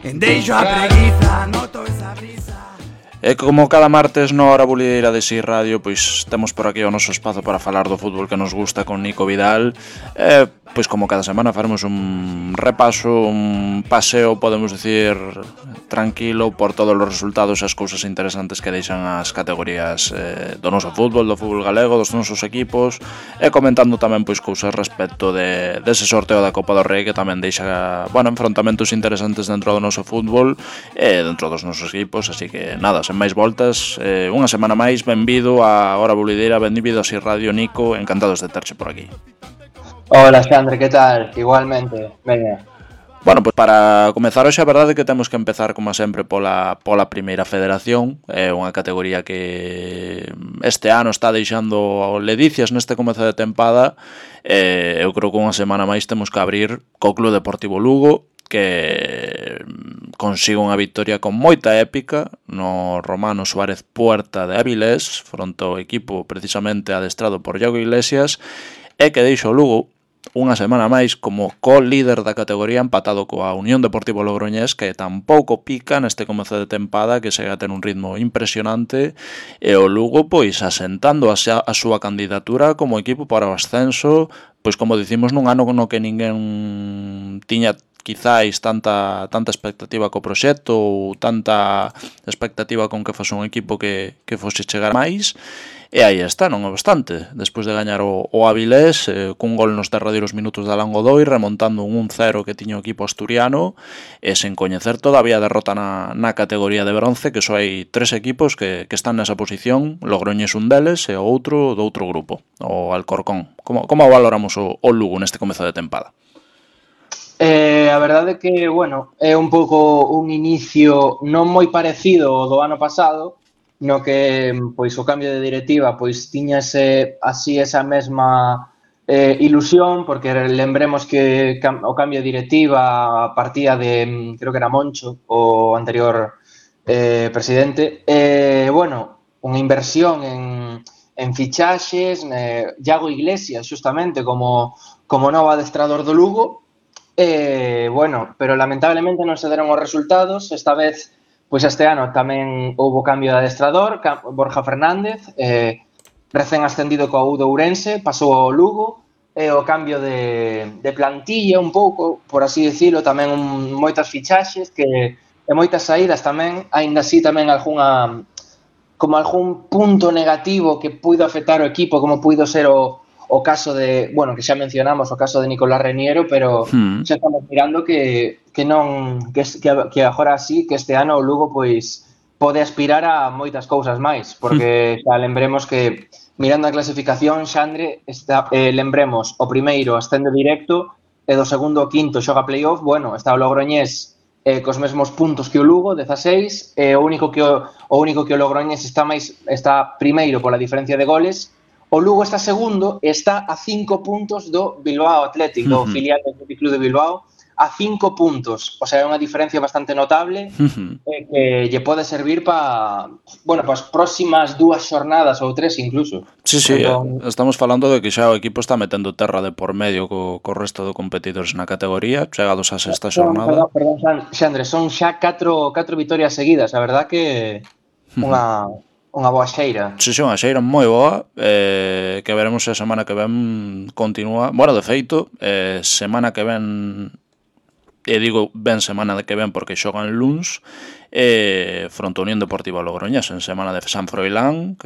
Deixo a preguiza, noto esa brisa. E como cada martes na hora bulideira de Si Radio, pois temos por aquí o noso espazo para falar do fútbol que nos gusta con Nico Vidal. Pois como cada semana faremos un repaso, un paseo, podemos decir, tranquilo por todos os resultados e as cousas interesantes que deixan as categorías do noso fútbol, do fútbol galego, dos nosos equipos, e comentando tamén pois cousas respecto dese sorteo da Copa do Rei que tamén deixa, enfrontamentos interesantes dentro do noso fútbol e dentro dos nosos equipos, así que nada, sen máis voltas, unha semana máis, benvido a Hora Bulideira, benvido a Si Radio, Nico, encantados de terche por aquí. Hola, Xandre, que tal? Igualmente, veña. Bueno, pois para comezar hoxe a verdade é que temos que empezar como sempre pola primeira federación. É unha categoría que este ano está deixando ledicias neste comezo de tempada. Eu creo que unha semana máis temos que abrir co Club Deportivo Lugo, que consigo unha victoria con moita épica no Romano Suárez Puerta de Avilés, fronte ao equipo precisamente adestrado por Iago Iglesias, e que deixo o Lugo unha semana máis como co-líder da categoría, empatado coa Unión Deportivo Logroñés, que tampouco pica neste comezo de tempada, que segue a ter un ritmo impresionante, e o Lugo pois asentando a súa candidatura como equipo para o ascenso, pois como dicimos nun ano no que ninguén tiña quizáis tanta expectativa co proxecto ou tanta expectativa con que fose un equipo que fose chegar máis. E aí está, non obstante, despois de gañar o Avilés, cun gol nos derradeiros minutos de Alan Godoy, remontando un 1-0 que tiña o equipo asturiano, e sen coñecer todavía a derrota na categoría de bronce, que só hai 3 equipos que están nesa posición, Logroñés un deles e o outro do outro grupo, o Alcorcón. Como valoramos o Lugo neste comezo de tempada? A verdade é que, é un pouco un inicio non moi parecido ao do ano pasado, no que pois o cambio de directiva pois tiñase así esa mesma ilusión, porque lembremos que o cambio de directiva partía de, creo que era Moncho, o anterior presidente, unha inversión en fichaxes, Iago Iglesias xustamente como novo adestrador do Lugo, pero lamentablemente non se deron os resultados. Esta vez, pois este ano tamén houbo cambio de adestrador, Borja Fernández, recén ascendido coa U de Ourense, pasou ao Lugo, e o cambio de plantilla un pouco, por así dicilo, tamén moitas fichaxes e moitas saídas tamén, aínda así tamén algún punto negativo que puido afectar o equipo, como puido ser o caso de, que xa mencionamos, o caso de Nicolás Reniero, pero xa estamos mirando que agora sí, que este ano o Lugo pois pode aspirar a moitas cousas máis, porque xa lembremos que mirando a clasificación, Xandre, lembremos, o primeiro ascende directo e do segundo ao quinto xoga playoff, está o Logroñés cos mesmos puntos que o Lugo, 16, e o único que o Logroñés está primeiro pola diferencia de goles. O Lugo está segundo e está a 5 puntos do Bilbao Athletic, do filial do Club de Bilbao, a 5 puntos. O sea, é unha diferencia bastante notable que lle pode servir para as próximas 2 xornadas ou 3 incluso. Sí, estamos falando de que xa o equipo está metendo terra de por medio co resto de competidores na categoría, chegados a sexta xornada. Perdón, Xandre, son xa 4 vitorias seguidas, a verdad que unha boa xeira. Sí, unha xeira moi boa, que veremos se a semana que ven continúa. De feito, semana que ven, e digo semana que ven porque xogan luns, fronte a Unión Deportiva Logroñés en semana de San Froilán, que